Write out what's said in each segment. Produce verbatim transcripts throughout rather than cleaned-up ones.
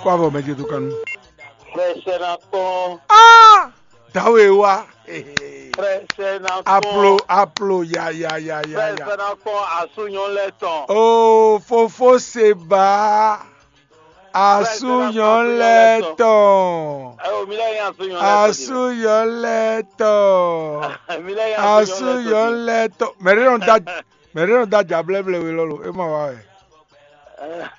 Kó avɔ mɛ ce dó kan nú. Frɛ sɛ́ ná kpɔ́n. Dǎwe wá. Frɛ sɛ́ ná Aplo kpɔ́n. Aplo ya ya ya ya Frɛ ya. sɛ́ ná kpɔ́n asúnyɔ lɛ́ɛ tɔn. O fofó se ba asúnyɔ lɛ tɔn. Ɛ o mi lɛ yin asúnyɔ lɛ́ɛ tɔn. Asúnyɔ lɛ tɔn. Mi lɛ yin asúnyɔ Asúnyɔ lɛ́ɛ lɛ tɔn. Mɛ ɖé nɔ da mɛ ɖé nɔ da dza blɛ́blɛ́ we lɔlo. E ma wa wɛ. tɔn.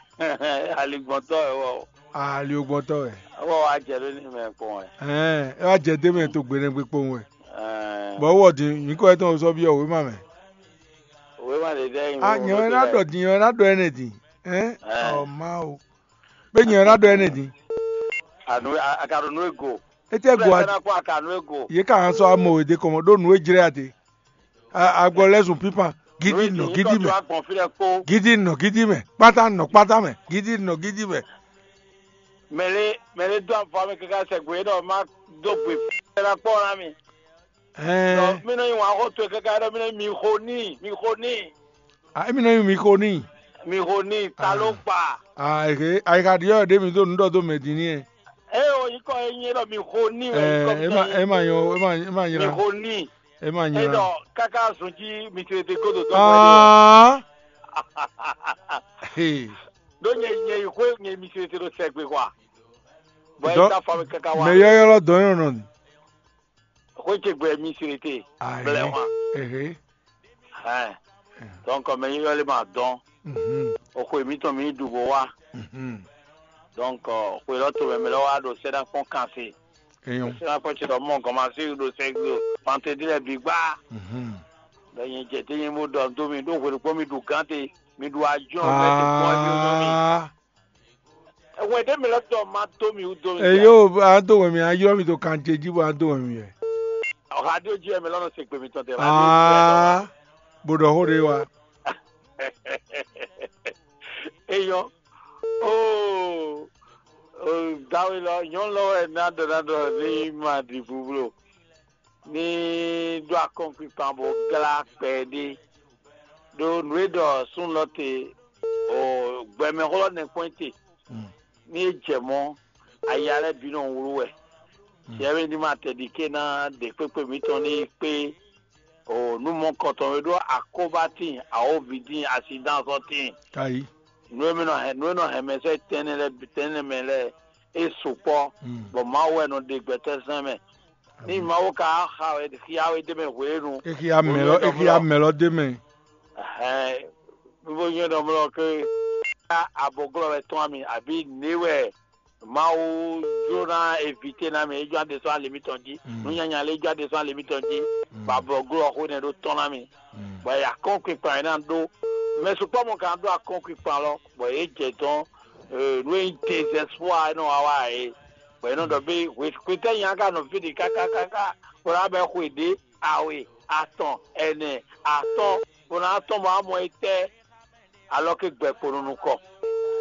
Aligbɔntɔ ɛ wɔ. Aliogbɔntɔ wɛ. Wɔ wa jɛ ɖo ní mɛ kpɔn ɛ. Ɛɛ e wa jɛ dé mɛ to gbenɛgbe kpowun wɛ. Ɛɛ, Bɔn wɔ din nyikɔ yɛ tɔn sɔ biɔ wema mɛ. Wema ɖe dɛ yin. A nyɛ wɛ na ɖɔ din nyɛ wɛ na ɖɔ ɛnɛ din. Ɛn Ɛɛ. Ɔ ma o. Be nyɛ wɛ na ɖɔ ɛnɛ din. Anu akaɖo nu ego. Etɛ go a Fɛnɛ kó akanu ego. Ye ka hã sɔ amɔ wɛ de kɔmɔ ɖo nu e jlɛ a te. Agbɔ lɛ zun pipan gidi nɔ gidi mɛ. Agbɔn fi lɛ kpó. Gidi nɔ gidi mɛ. Kpata nɔ kpata mɛ. Gidi nɔ gidi mɛ. Mɛlɛ mɛlɛ do avɔ mi kaka sɛ gbe ɖɔ ma do gbe fɛnɛ kpɔ na mi. Dɔ Ɛɛ mi nɔ yi wan xɔ to kaka ɖɔ mi nɔ mi xo ní mi xo ní. a emi nɔ yi mi ko ni. Mi xo ní ta ló kpa. Ah ehe ayika diɔ ɖe mi do nu ɖɔ do mɛ din ni ɛ. Eye o yi kɔ e nyi ɖɔ mi xo ní wɛ yi kɔ Ɛɛ ema ema nyɔ ema ema mi nyra xo ní. Ema E nyra. dɔ kaka zun jí mi tete godo dɔ. Ah. Hey. Ɖó nyɛ nyɛ yi xwe nyɛ mi tete ɖo sɛgbe kɔ. Bɔn Dɔ- e ta fa mi kaka wa. Mɛ yɔyɔlɔ dɔnyɔnɔ ni. Xwe ce gbɛ mi tete. Blɛ wa. Ehe. Hɛn. Donc mɛ yɔyɔ le ma dɔn. Mhm. O xwe mi tɔn mi ɖu bo wa. Mhm. Donc xwe lɔ to mɛ mɛ lɔ wa ɖo sɛɖa kpɔn kan se. Eyɔn. Sɛɖa kpɔn ce lɔ mɔ gɔmasi ɖo sɛgbe pante di lɛ bi gba. Mhm. Ɖɔ nyɛ jɛ te nyɛ mo ɖɔ do mi ɖo hwe ɖokpɔ mi ɖu gante mi ɖu ajɔ mɛ te kpɔn mi ɖo mi. Ah. Ɛwɛ ɖe mi lɔ tɔ ma to mi wu do mi. Eyo a do wɛ mi a yɔ mi to kan ce ji bo a do wɛ mi yɛ. Ɔha ɖo ji mi lɔnà se gbe mi tɔn tɛ. Ah. Bo ɖɔ xó ɖe wa. Eyɔ. Oo. Dawe lɔ nyɔnu lɔ wɛ na ɖɔ na ɖɔ ni ma ɖi bublo. Ní ɖó akɔ́nkpinkpan bó glá kpɛɖé ɖó nǔ e ɖɔ súnnu lɔ te o gbɛmɛxó lɔ nɛkpɔ́n te. Ní é jɛ mɔ̌, aya lɛ́ɛ bǐ nɔ wlú wɛ. Yɛ́mɛ ní ma tɛ ɖi ké ná ɖe kpékpé mǐtɔn ní yi kpé o nǔ mɔkɔtɔn e ɖó akóbátín, awǒvítín, asidán sɔ́tín. Ayi. Nǔ e mɛ nɔ hɛn nǔ e nɔ hɛn mɛ sɛ́ tɛnɛ lɛ́ɛ tɛnɛ mɛ lɛ́ɛ é sukpɔ́, bɔ Mawu wɛ nɔ ɖe gbɛtɔ́ sɛn mɛ. Ní Mawu ka xa wɛ xyá wɛ ɖ'é mɛ hwenu. Exia mɛ lɔ exia mɛ lɔ de mɛ. Ɛhɛn, mi bo nyɔ́ ɖɔ mlɔ ke abɔglɔ́ wɛ tɔn ami àbí nǐ wɛ Mawu jló ná évité ná mi, é jló ná ɖe sɔ́ ali mitɔn jí. Nǔnyanya lé jló ná ɖe sɔ́ ali mitɔn jí. Bɔ abɔglɔ́ xó nɛ́ ɖó tɔn ná mi. Bɔ akɔ́nkpinkpan e ná ɖó mɛ sukpɔ́ mɔ ka ɖó akɔ́nkpinkpan lɔ, bɔ yě jɛ dɔn nǔ e nyí désɛspɔ́a e nɔ wa wá ɛ é. Bɔ yě nɔ ɖɔ bé hwetɛ́ nya ka nɔ fí ɖi kákákáká bó ná bɛ xwe ɖě awe atɔn ɛnɛ atɔ́ɔ́n bó ná tɔ́n bɔ amɔ étɛ́ alɔ ké gbɛkpo nɔ nukɔn.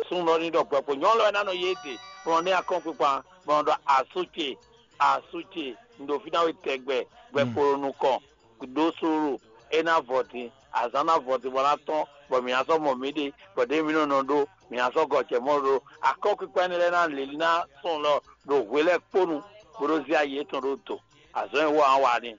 Súnnu ɔ́ ní ɖɔ gbɛkpo nyɔ̌nu lɔ wɛ ná nɔ yí éɖe bɔ nɔ ní akɔ́nkpinkpan bɔ nɔ ɖɔ asú ce asú ce un ɖo fí ná we tɛgbɛ gbɛkpo nɔ nukɔn ɖó slúlu é ná vɔ din azǎn ná vɔ din bɔ ná tɔ́n bɔ mǐ ná sɔ́ mɔ mǐɖée bɔ ɖěe mǐ nɔ nɔ ɖó mǐ ná sɔ́ gɔ jɛ mɔ̌ ɖó akɔ́nkpinkpan énɛ́ lɛ́ɛ ná lě líná sɔn lɔ ɖo hwe lɛ́ɛ kpó nu bó ɖó zé ayi yětɔn ɖó do azɔ̌ e wɔ án wa ní.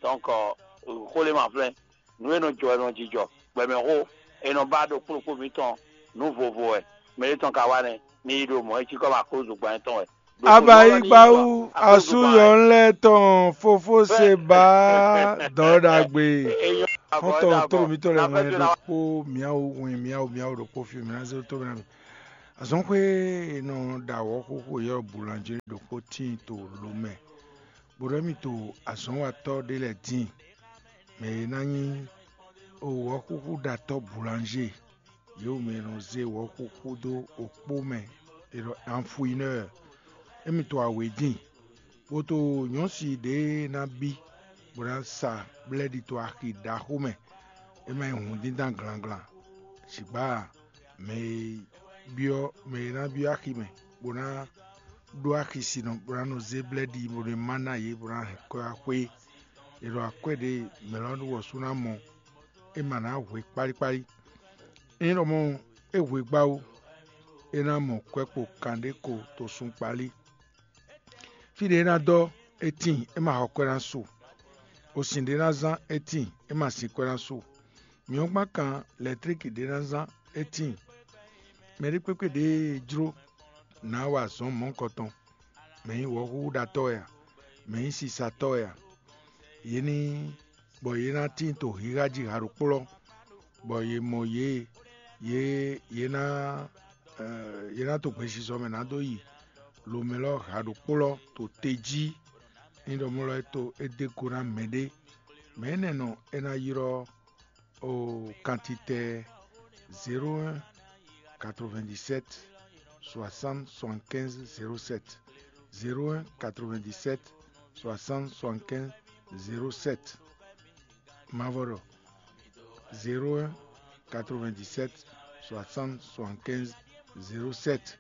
Donc xó lě ma flɛ́n nǔ e nɔ jɔ wɛ nɔ jijɔ gbɛmɛxó e nɔ ba ɖo kplɔ́kpó mǐtɔn nǔ vovo wɛ mɛ ɖé tɔn ka wa nɛ́ ní yi ɖo mɔ̌ é cí kɔ ba kó zugban tɔn wɛ. Abayi gbawu asúyɔ lɛ tɔn fofó se ba dɔn ɖagbe. Xɔtɔn toro mitɔ lɛ ŋlɛ ɖokpó miawu wɛn miawu miawu ɖokpó fi mi na zé to mi na mi. Azɔn xwe e nɔ ɖa wɔ xoxo yɔ bulanjɛ ɖokpó tíin to lo mɛ. Bó ɖɔ mi to azɔnwatɔ ɖé lɛ dín. Mɛ e ná nyí wɔxúxúɖatɔ́ bulanjɛ. Yě mɛ e nɔ zé wɔ̌xúxú dó okpó mɛ è ɖɔ anfuinɛ́ɛ. Émi to awě din, bó to nyɔ̌si ɖě ná bí, bó ná sa blɛ́ɖi to axi ɖaxó mɛ, é má nyí hǔndíndán glanglan. Zǐgbá mɛ e byɔ́ mɛ e ná byɔ́ axi mɛ, bó ná ɖó axi sinɔ, bó ná nɔ zé blɛ́ɖi, bó nɔ má ná yě, bó ná hɛn kɔ́ wá xwé. È ɖɔ akwɛ́ ɖě mɛ lɔ wɔ sú ná mɔ, é ma ná hwe kpálíkpálí. Ényí ɖɔ mɔ̌ é hwe gbá ó, é ná mɔ kwɛ́ kpo kanɖé ko to sun kpalí. Fí ɖě é ná dɔ́, é tíin, é ma xɔ kwɛ́ ná su. Osin ɖě é ná zán, é tíin, é ma sin kwɛ́ ná su. Mǐ ɔ́ gbán kan lɛ̌tlíki ɖě é ná zán, é tíin. Mɛ ɖé kpékpé ɖě e jló nǎ wa azɔ̌ mɔ̌hunkɔtɔn, mɛ nyí wɔ̌xúxúɖatɔ́ wɛ a, mɛ nyí sisatɔ́ wɛ a, yě ní bɔ yě ná tíin to xixa jí ha ɖokpó lɔ, bɔ yě mɔ yě, yě yě ná yě ná to gbesisɔ mɛ ná dó yi lomɛ lɔ ha ɖokpó lɔ to te jí. Ní ɖɔ mɔ lɔ é to é dé go ná mɛɖé. Mɛ énɛ́ nɔ é ná ylɔ́ o kantitɛ zéro un quatre-vingt-dix-sept soixante soixante-quinze zéro sept, zéro un quatre-vingt-dix-sept soixante soixante-quinze zéro sept. Mavɔ ɖɔ zéro un quatre-vingt-dix-sept soixante soixante-quinze zéro sept.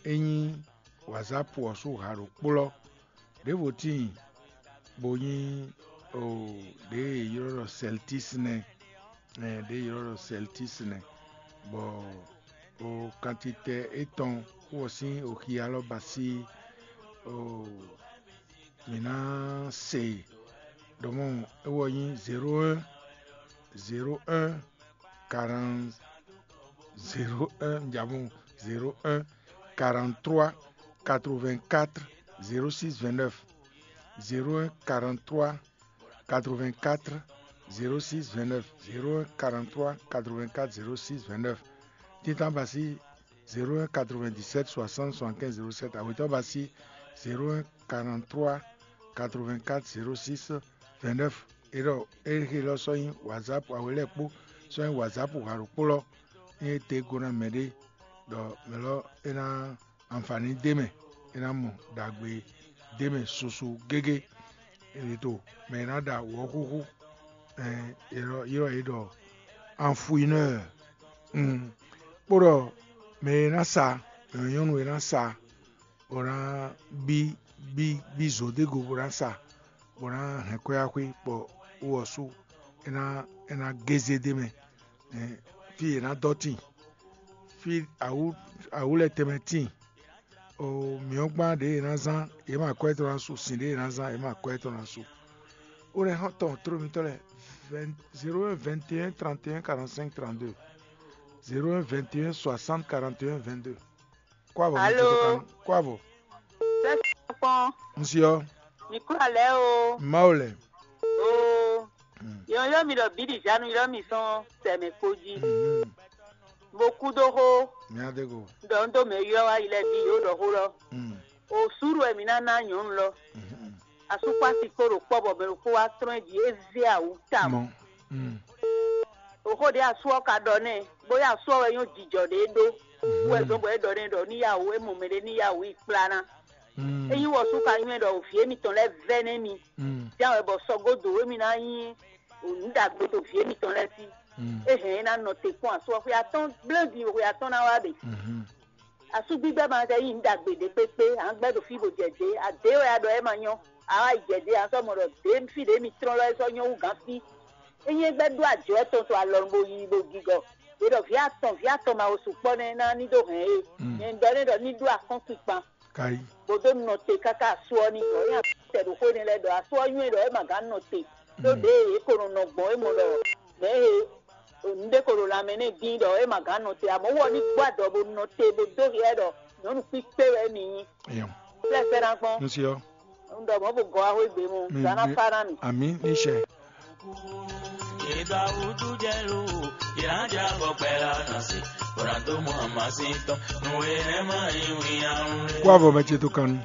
É nyí wazap ɔ́ sú ha ɖokpó lɔ. Ɖěvo tíin bó nyí o ɖě e è ylɔ́ ɖɔ sɛltis nɛ́, ɛ ɖě e è ylɔ́ ɖɔ sɛltis nɛ́, bɔ o kantitɛ étɔn wɔ sín oxi alɔ ba sí o mǐ ná se ɖɔmɔ é wɔ nyí zéro un zéro un quarante zéro un jabon zéro un quarante-trois quatre-vingt-quatre zéro six vingt-neuf, zéro un quarante-trois quatre-vingt-quatre zéro six vingt-neuf, zéro un quarante-trois quatre-vingt-quatre zéro six vingt-neuf. Tintan ba sí zéro un quatre-vingt-dix-sept soixante soixante-quinze zéro sept, awětɔ́ ba sí zéro un quarante-trois quatre-vingt-quatre zéro six vingt-neuf. É ɖɔ é xe lɔ sɔ́ nyí wazap, awě lɛ́ɛ kpó sɔ́ nyí wazap ha ɖokpó lɔ. Ní é te go ná mɛ ɖé ɖɔ mɛ lɔ é ná anfani d'é mɛ, é ná mɔ ɖagbe d'é mɛ susu gégé. È to mɛ e ná ɖa wɔ̌xúxú, ylɔ́ yě ɖɔ anfuinɔ́ɔ, kpó ɖɔ mɛ e ná sa, mɛ nyɔ́nu e ná sa, bó ná bí bí bí zǒdégo bó ná sa, bó ná hɛn kwɛ́ axwé bɔ wú ɔ́ sú é ná é ná gézé d'é mɛ. Fí è nǎ dɔ́ tíin, fí awǔ awǔ lɛ́ɛ tɛnmɛ tíin. O mǐ ɔ́ gbán ɖěe è nǎ zán, yě ma kwɛ́ tɔn ná su; sin ɖěe è nǎ zán, yě ma kwɛ́ tɔn ná su. Ó lɛ́ xɔ́n tɔn tló mitɔ́ lɛ́ɛ: zéro un vingt et un trente et un quarante-cinq trente-deux, zéro un vingt et un soixante quarante et un vingt-deux. Kó avɔ, Alo. Kó avɔ. Sɛ́sɛ́ kpɔ́n. Ŋsi ɔ́. Mi kúrò alɛ o. Mawu lɛ. Oo. Yɔn ylɔ́ mi ɖɔ bǐ ɖi Zanu ylɔ́ mi sɔn sɛmɛ kpo jí. Mo kú dó xó. Mía dé go. Ɖɔ un dó mɛ ylɔ́ wá yi lɛ́ɛ bǐ yǒ ɖɔ xó lɔ. O súɖu wɛ mi ná ná nyɔ̌nu lɔ. Asúkpási kpó ɖo kpɔ́ bɔ mɛ ɖokpó wá tlɔ́n ɛ jí, é zé awǔ tawun. Oxó ɖě asú ɔ́ ka ɖɔ nɛ́, bóyá asú ɔ́ wɛ nyɔ́ jijɔ ɖě é ɖó. Wɛ zɔn bɔ é ɖɔ nɛ́ ɖɔ ní yá wǔ, é mɔ mɛɖé ní yá wǔ yi kplá ná. Ényí wɔ sú ka nywɛ́ ɖɔ vǐ émítɔn lɛ́ɛ vɛ́ nɛ́ mi, ján wɛ bɔ sɔgódǒ émí ná nyí nǔ ɖagbe dó vǐ émítɔn lɛ́ɛ sí. É hɛn é ná nɔ te kpɔ́n asú ɔ́ xwe atɔ́ɔ́n gblé din xwe atɔ́ɔ́n ná wá ɖe. Asúgbígbɛ́ ma ka nyí nǔ ɖagbe ɖě kpékpé, a nǎ gbɛ́ ɖo fí bó jɛ dě, adě wɛ a ɖɔ é ma nyɔ́. A wá yi jɛ dě, a sɔ́ mɔ ɖɔ dě fí ɖě mi tlɔ́n lɔ é sɔ́ nyɔ́ hú gǎn fí. Ényí é gbɛ́ ɖó ajɔ̌ tɔn to alɔnu bó yi bó gigɔ, è ɖɔ vǐ atɔn, vǐ atɔn ma wo sukpɔ́ nɛ́ ná ní dó hɛn é. Nyɛ un ɖɔ nɛ́ ɖɔ ní ɖó akɔ́nkpinkpan, Kayi. Bó dó nɔ te káká asú ɔ́ ní gɔ̌. É nyi asú tɛ ɖo xó énɛ́ lɛ́ɛ ɖɔ asú ɔ́ nywɛ́ ɖɔ é ma gǎn nɔ te. Ɖó ɖěe é ko nɔ nɔ gbɔn é mɔ ɖɔ mɛ̌ he nǔɖé ko ɖo lanmɛ n'i dín ɖɔ é ma gǎn nɔ te, amɔ̌ wɔ ní gbɔ adɔ bó nɔ te bó dó hyɛ ɖɔ nyɔ̌nu kpíkpé wɛ mì nyí. Eyɔn. Flɛ́fɛ́ ná gbɔn. N si ɔ́. Un ɖɔ mɔ̌ bó gɔ́ wá xwé gbe mɔ, Mi- gǎn ná mi- fá ná mì. Ami ní sɛ. Kó avɔ mɛ ce to kan nu.